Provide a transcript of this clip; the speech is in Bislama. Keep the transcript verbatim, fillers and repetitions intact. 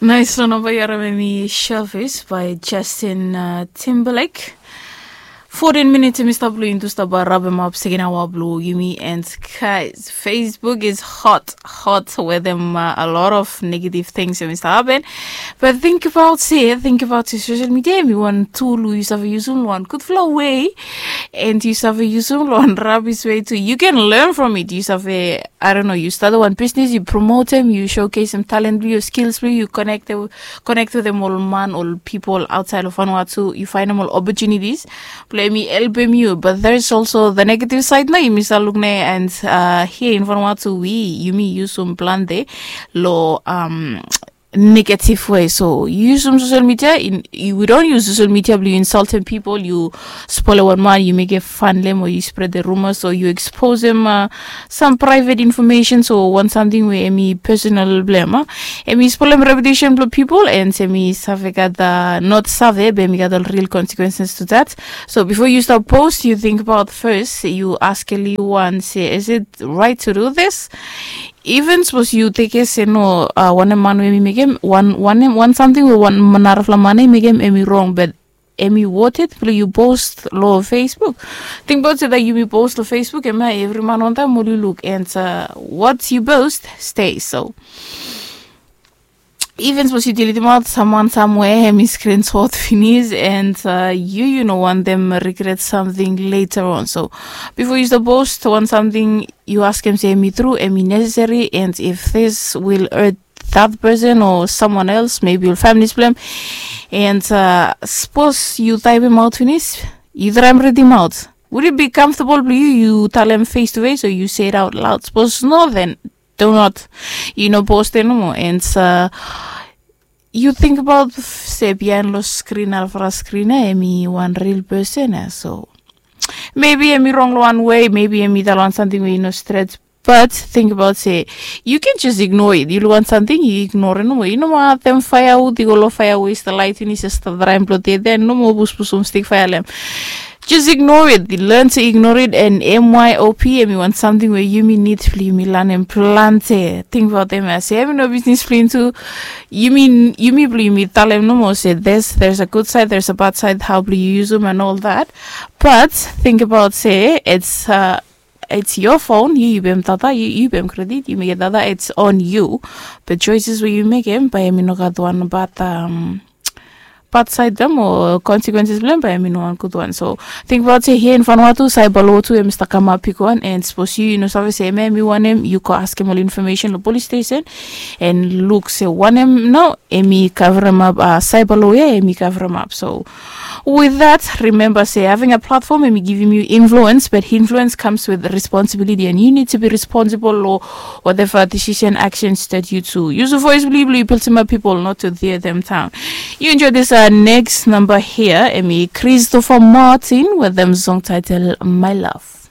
Nais long namba yu harim em i Shelfish by Justin uh, Timberlake. Fourteen minutes em i stap long intu stap rabem up second hour blue yumi and guys, Facebook is hot, hot with them uh, a lot of negative things em i stap happen. But think about say, think about say social media em i one tool we you save use one good flow way and you save use one rubbish way too. You can learn from it. You save I don't know, you start one business, you promote them, you showcase them talent blue, your skills blue, you connect them, connect with them all man, all people outside of Vanuatu, you find them all opportunities. Blue me help them you, but there's also the negative side na yumi sa look ne and uh, here in Vanuatu we yumi use some plan there lo um negative way. So you use some social media in you, we don't use social media blue you insulting people, you spoil one man, you make a fun them or you spread the rumors or you expose them uh, some private information. So one something where any personal blame uh, any spoil them reputation blue people and semi save got the not save but emi got the real consequences to that. So before you start post you think about first you ask a little one say is it right to do this? Even suppose you take a say no uh, one man we mi make him one one him one something we one narafla man mi make him emi wrong but emi worth it blue you post lo Facebook. Think about it that you be post lo Facebook and my every man on time will you look and uh, what you post stays. So even suppose you delete him out someone somewhere him is screenshot finish and uh, you you know want them regret something later on. So before you start post one something you ask him say me through and me necessary and if this will hurt that person or someone else maybe your family's blame and uh, suppose you type him out finish, you try and read him out. Would it be comfortable for you you tell him face to face or you say it out loud? Suppose no then do not you know post anymore and uh, you think about se bihain lo screen alfara screen eh, emi one real person eh, so maybe emi wrong lo one way maybe emi dal on something wey you know stretch. But think about say you can just ignore it. You want something, you ignore it. No more. You know what? Them firewood, you go lo firewood, is the light in is the rhyme plot there. Then no more bus bus um stick fire them. Just ignore it. Learn to ignore it and M Y O P M. You want something where you mean need to me learn and plant it. Think about them as say, having no business playing too. You mean you me blue me tell them no more say this there's a good side, there's a bad side, how blue you use them and all that. But think about say it's uh it's your phone, you you bem tata, you you bem credit, you make it tata, it's on you. But choices where you make him by him no got one but um bad side them or consequences blame by him no one good one. So think about say here in Vanuatu cyber law too him start come up pick one and suppose you you know service him him you want him you go ask him all information the police station and look say one him no emi cover him up uh, cyber lawyer emi cover him up. So with that remember say having a platform emi giving you influence but influence comes with responsibility and you need to be responsible lo whatever decision actions that you do use a voice blue blue people to my people not to tear them down. You enjoy this uh, next number here emi Christopher Martin with them song title My Love.